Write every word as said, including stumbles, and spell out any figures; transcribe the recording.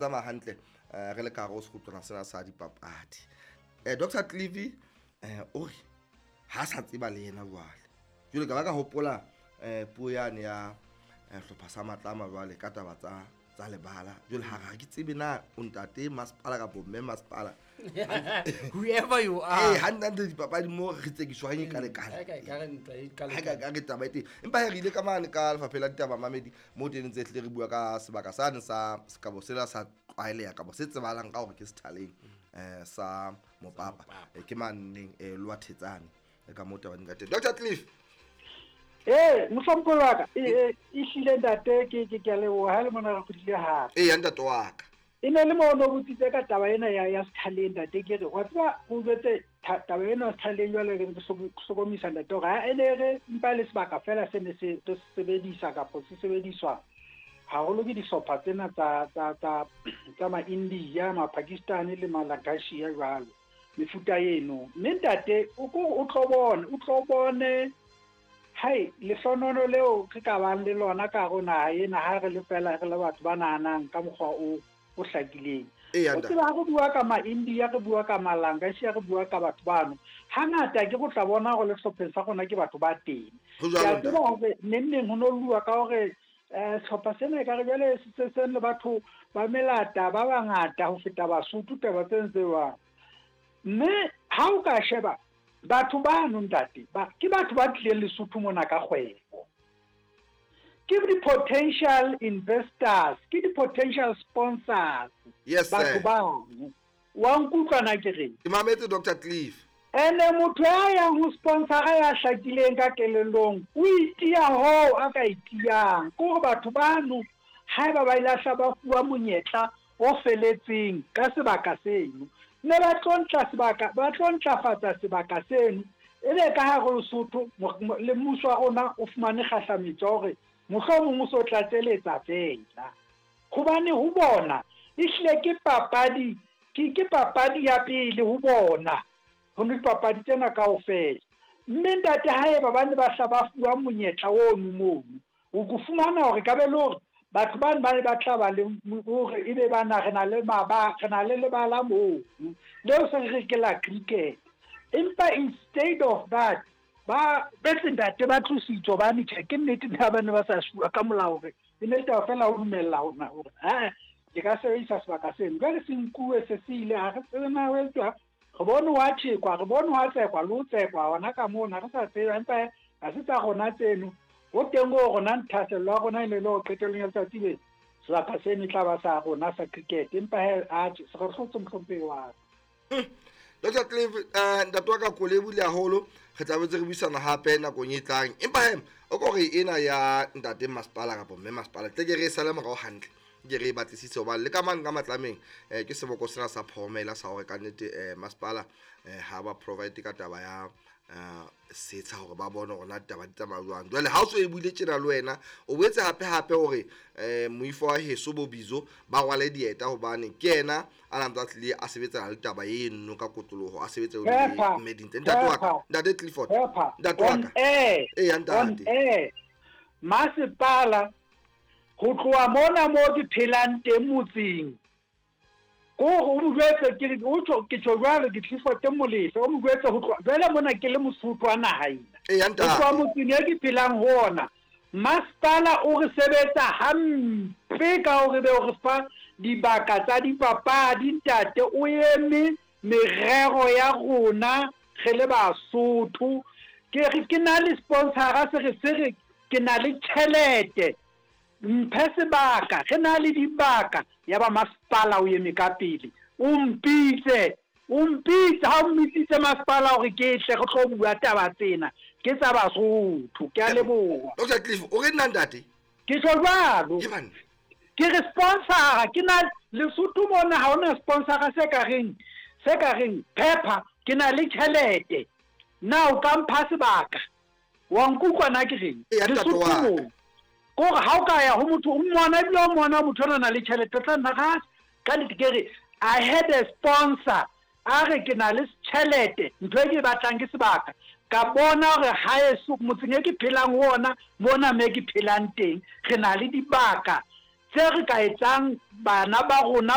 Tsamaya hantle eh, re le ka hare ho sekgutlwana sena sa dipapadi. eh, Doctor Clive eh, o re ha sa tseba le yena jwale. Jwale ka ba ka hopola eh, puo yane ya eh, hlopha sa Matlama jwale ka taba tsa tsa lebala. Jwale ha re ke tsebe na o ntate masepala kapa mme masepala. Whoever you are. Eh, hantle hantle dipapadi mo re tsekiswang e kale-kale. Ha e ka re ntwa e Ha ka ka re taba e teng. Empa he re ile ka mane ka lefapheng la ditaba mamedi mo teng ntse hlile re bua ka sebaka sane sa sekabo sela sa tlwaeleha kapa se tsebahalang ka hore ke sethaleng eh sa Mopapa. Eh, ke maneng eh Lower Thetsane e ka mo taba di ka teng. Doctor Cliff. Eh, mohlomphehi wa ka, e ehlile ntate ke ke ke a leboha ha le mona re kgutlile hape. Eya ntate wa ka. E ne le mo no botsitse ka taba ena ya ya sethaleng ntate, ke re wa tseba o jwetse taba ena ya sethaleng jwale re hlokomisa ntate hore ha e ne re mpa le sebaka fela se ne se re sebedisa kapa se sebediswa haholo ke dihlopha tsena tsa tsa tsa tsa ma-India, ma-Pakistan le Malagashia jwalo mefuta eno. Mme ntate o ko o tlo bone o tlo bone hai lehlonono leo re ka bang le lona ka hare ho naha ena ha re le fela re le batho ba nahanang ka mokgwa o o hlakileng. Eya O ntate. tseba ha re bua ka ma-India, re bua ka Malangashia, re bua ka batho bano, hangata ke go tla bona hore le sehlopheng sa rona ke batho ba teng. Ho Ke a jwalo tseba ntate. hore neng neng ho no lluwa ka hore eh sehlopha sena ekare jwale se se se le batho ba melata ba bangata ho feta Basotho taba tse ntse jwang. Mme ha o ka sheba batho bano ntate ba ke batho ba tlileng Lesotho mona ka kgwebo. Ke di-potential investors, ke di-potential sponsors. Yes batho sir. bano. Wa nkutlwa na ke reng? Ke mametse Doctor Cliff. Ene motho ya yang ho sponsora ya hlakileng ka kelellong o itiya hoo a ka itiyang. Ke hore batho bano haeba ba ile hla ba fuwa monyetla o feletseng ka sebaka seno, mme ba tlo ntla sebaka, ba tlo ntlafatsa sebaka seno, ebe ka hare ho Lesotho le mmuso wa rona o fumane kgahlametso ya hore mohlomong o so tlatseletsa fela. Hobane ho bona ehlile ke papadi, ke ke papadi ya pele ho bona ho dipapadi tsena kaofela. Mme ntate haeba ba ne ba hla ba fuwa monyetla ono mono, o ko fumana hore ka be le hore batho bano ba ne ba tla ba le hore ebe bana re na le maba, re na le lebala moo leo se re ke la cricket. Empa instead of that ba betse ntate ba tlositswe hobane tjhe ke nnete na ba ne ba sa fuwa ka molao hore e ne taba fela ho dumella hona hore ha ke ka sebedisa sebaka seno. Jwale se nkuwe se se ile ha re tsebe na ho etswa. Re bone wa tjhekwa, re bone wa tsekwa le ho tsekwa hona ka mona re sa tsebe, empa ha se tsa rona tseno. Ho teng ho rona nthasello ya rona e ne le hore qetellong ya letsatsi le sebaka seno e tla ba sa rona sa cricket. Empa he atjhe se re hlotse mohlomphehi wa ka. Doctor Cliff, eh ntate wa ka ko lebohile haholo. Re tla boetse re buisana hape nakong e tlang. Empa he o ko re ena ya ntate masepala kapa mme masepala tle ke re e sale morao hantle. Ke re e batlisise hobane le ka mane ka Matlameng eh ke seboko sena sa phomela sa hore ka nnete eh masepala eh ha ba provide ka taba ya eh setsha hore ba bone hore na ditaba di tsamaya jwang. Jwale ha o so e buile tjena le wena o boetse hape hape hore eh moifo wa heso bo Bizo ba rwale dieta hobane ke yena a na ntse a tlile a sebetsana le taba eno ka kotloloho a sebetsa le Pepper, mme Dintle. Ntate wa ka, Pepper, ntate Clifford, Pepper, ntate wa on ka. air, Eya on ntate. air. Masepala ho tloha mona mo ke phelang teng motseng. Ko hore o mo jwetse ke re o tjho ke tjho jwalo ke Clifford Molefe, o mo jwetse ho tloha jwale mona ke le Mosotho wa naha ena. Eya Ho tloha ntate. motseng e ke phelang ho ona. Masepala o re sebetsa hampe ka hore be o re fa dibaka tsa dipapadi ntate, o eme merero ya rona re le Basotho. Ke re ke na le sponsora se re se re ke na le tjhelete mphe sebaka, re na le dibaka. Ya ba masepala o eme ka pele, o mpitse, o mpitse ha o mmitsitse masepala hore ke tle re tlo bua taba tsena ke tsa Basotho. Ke a leboha. Doctor Cliff, o re nna ntate? Ke tjho jwalo. Ke banna. Ke re sponsora, ke na Lesotho mona ha hona sponsora se ka reng, se ka reng Pepper, ke na le tjhelete. Na o ka mpha sebaka? Wa nkutlwa na ke reng? Eya, ntate Lesotho wa ka. moo. Ke hore ha o ka ya ho motho, o mmona ebile o mmona motho ona na le tjhelete, o tla nna ka ka nnete ke re I had a sponsor a re ke na le tjhelete, ntho e ke e batlang ke sebaka. Ka bona hore haeso motseng e ke phelang ho ona mona me ke phelang teng, re na le dibaka tse re ka etsang bana ba rona